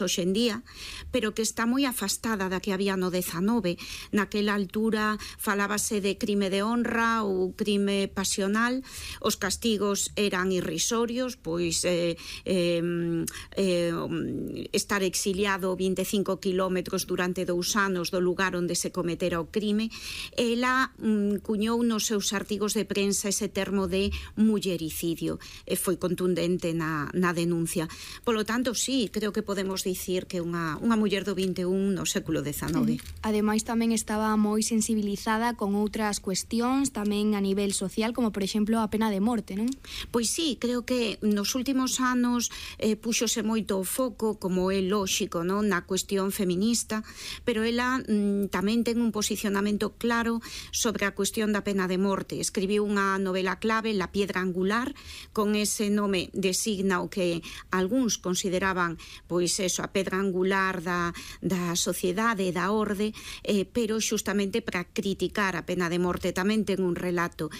hoxe en día, pero que está moi afastada da que había no 19. Naquela altura falábase de crime de honra ou crime pasional, os castigos eran irrisorios, pois estar exiliado 25 kilómetros durante 2 anos do lugar onde se cometera o crime. Ela cuñou nos seus artigos de prensa ese termo de mullericidio e foi contundente na denuncia. Polo tanto, sí, creo que podemos dicir que unha muller do 21 no século XIX. Ademais, tamén estaba moi sensibilizada con outras cuestións tamén a nivel social, como por exemplo a pena de morte, non? Pois sí, creo que nos últimos anos púxose moito o foco, como é lóxico, non, na cuestión feminista, pero ela tamén ten un posicionamento claro sobre a cuestión da pena de morte. Escribiu unha novela clave, La piedra angular, con ese nome designa o que algúns consideraban, pois eso, a pedra angular da sociedade e da orde, pero xustamente para criticar a pena de morte. Tamén ten un relato.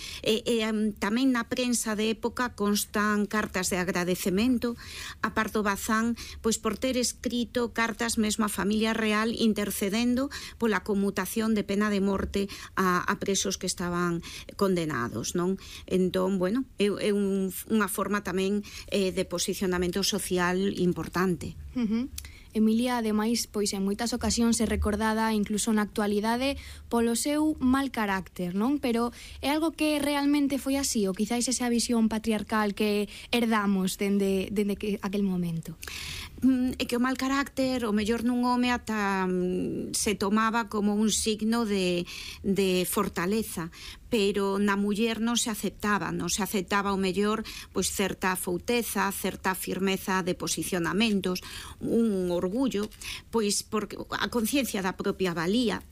Tamén na prensa de época constan cartas de agradecemento a Pardo Bazán, pois por ter escrito cartas mesmo a familia real intercedendo pola conmutación de pena de morte a presos que estaban condenados, non? Entón, bueno, é unha forma tamén de posicionamento social importante. Emilia, ademais, pois en moitas ocasións é recordada incluso na actualidade polo seu mal carácter, non? Pero é algo que realmente foi así, ou quizáis esa visión patriarcal que herdamos dende aquel momento? É que o mal carácter, o mellor nun home ata se tomaba como un signo de fortaleza, pero na muller non se aceptaba o mellor pois certa fouteza, certa firmeza de posicionamentos, un orgullo, pois porque a conciencia da propia valía,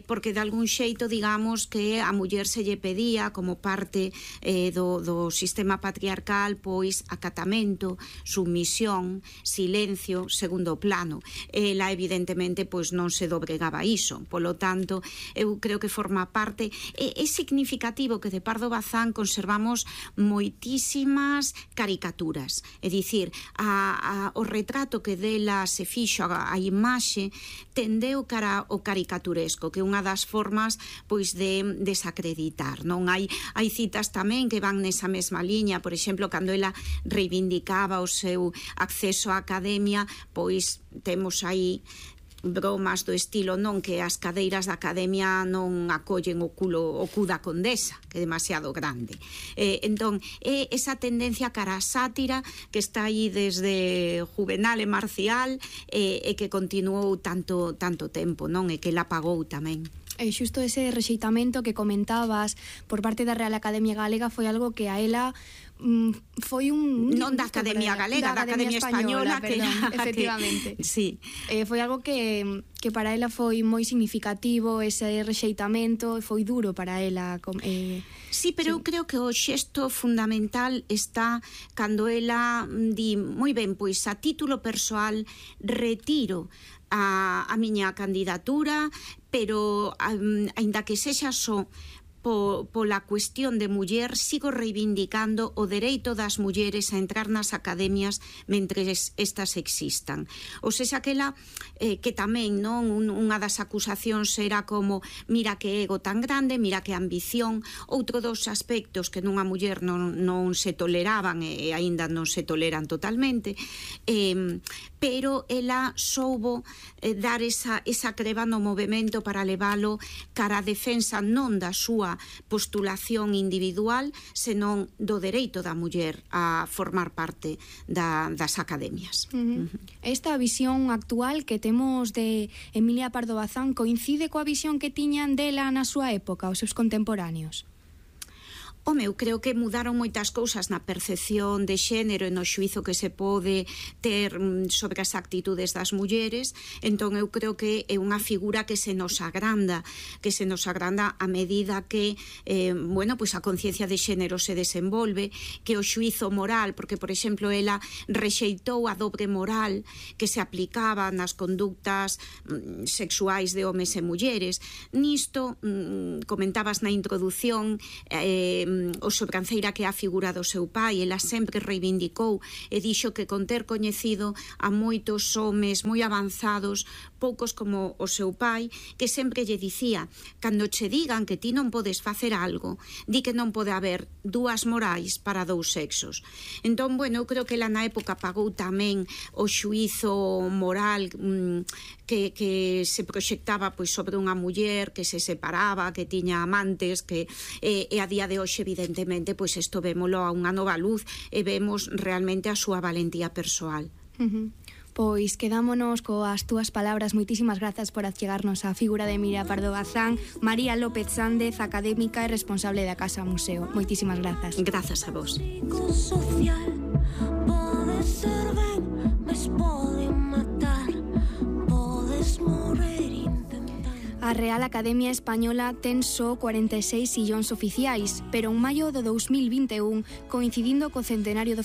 porque de algún xeito digamos que a muller se lle pedía como parte do sistema patriarcal pois acatamento, sumisión, silencio, segundo plano. Ela evidentemente pois non se dobregaba a iso, polo tanto eu creo que forma parte. É significativo que de Pardo Bazán conservamos moitísimas caricaturas, é dicir, o retrato que dela se fixo, a imaxe tendeu cara ao caricaturesco, que é unha das formas pois de desacreditar, non? Hai citas tamén que van nesa mesma liña, por exemplo, cando ela reivindicaba o seu acceso á academia, pois temos aí bromas do estilo, non, que as cadeiras da academia non acollen o cu da condesa, que é demasiado grande. Entón, é esa tendencia cara a sátira que está aí desde Juvenal e Marcial e que continuou tanto tempo, non? E que la pagou tamén. E xusto ese rexeitamento que comentabas por parte da Real Academia Galega foi algo que a ela foi un... Non da Academia Galega, da Academia Española, perdón, efectivamente. Sí. Foi algo que para ela foi moi significativo, ese rexeitamento, foi duro para ela. Sí, pero eu creo que o xesto fundamental está cando ela di, moi ben, pois a título persoal retiro a miña candidatura, pero aínda que sexa só pola cuestión de muller, sigo reivindicando o dereito das mulleres a entrar nas academias mentres estas existan. Ou seja, aquela que tamén, non, unha das acusacións era como, mira que ego tan grande, mira que ambición. Outro dos aspectos que nunha muller non se toleraban e aínda non se toleran totalmente, pero ela soubo dar esa creba no movimento para leválo cara a defensa non da súa postulación individual, senón do dereito da muller a formar parte das academias. Esta visión actual que temos de Emilia Pardo Bazán coincide coa visión que tiñan dela na súa época, os seus contemporáneos? Home, eu creo que mudaron moitas cousas na percepción de xénero e no xuizo que se pode ter sobre as actitudes das mulleres, entón eu creo que é unha figura que se nos agranda a medida que bueno, pois a conciencia de xénero se desenvolve, que o xuizo moral, porque por exemplo ela rexeitou a dobre moral que se aplicaba nas conductas sexuais de homes e mulleres. Nisto comentabas na introdución o sobranceira que é a figura do seu pai. Ela sempre reivindicou e dixo que con ter coñecido a moitos homes moi avanzados, poucos como o seu pai, que sempre lle dicía: cando che digan que ti non podes facer algo, di que non pode haber dúas morais para dous sexos. Entón, bueno, eu creo que ela na época pagou tamén o xuízo moral que se proxectaba pois sobre unha muller que se separaba, que tiña amantes, que e a día de hoxe evidentemente pois isto vémolo a unha nova luz e vemos realmente a súa valentía persoal. Pois quedámonos coas túas palabras. Moitísimas grazas por achegarnos a figura de Emilia Pardo Bazán. María López Sández, académica e responsable da Casa Museo. Moitísimas grazas. Grazas a vos. A Real Academia Española ten só 46 sillóns oficiais, pero en maio do 2021, coincidindo co centenario do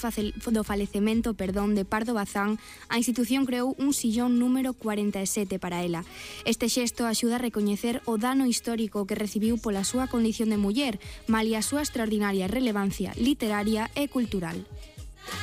falecemento de Pardo Bazán, a institución creou un sillón número 47 para ela. Este xesto axuda a recoñecer o dano histórico que recibiu pola súa condición de muller, malia a súa extraordinaria relevancia literaria e cultural.